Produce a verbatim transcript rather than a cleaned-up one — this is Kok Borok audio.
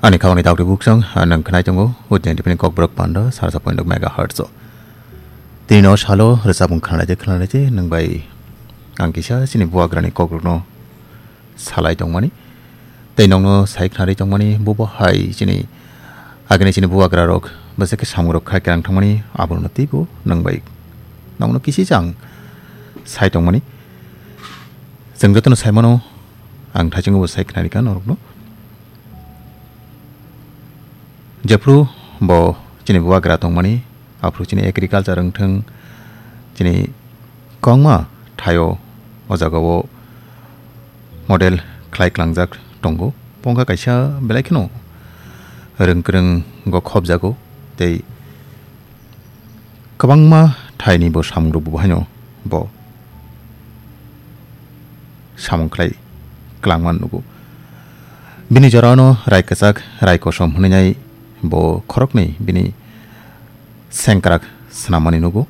Ani khawani daktwi buksong, ah, nang khnai tongo, Udin T V ni Kokborok panda, sarsa point megahertz o. Tini no salo, rwchapung khnalai de, khnalai de, nang bai ang kisa chini buagrani kokrokno salai tongmani. Tei nongno sai khnari tongmani, bubo hai chini agini chini buagrarok, bwswk khe samungrok khai kerang thangmani, abono teibo nang bai nongno kisi chang sai tongmani. Chwng jotono saimano, ang thaichungo bo sai khnari kha norokno. Jephru bo chini buagra tongmani, aphru chini agriculture wngthung, chini kwbangma thaio o jagao model khlai klangjak tongo. Pongkha kaisa belai kheno rwng kwrwng go khobjago, tei kwbangma thaini bo samungrok bo haino bo samung khlai klangma nugo. Bini jorano rai kwchak, rai kosom hwnwi nai bo khoroknwi bini sengkrak swnamani nugo.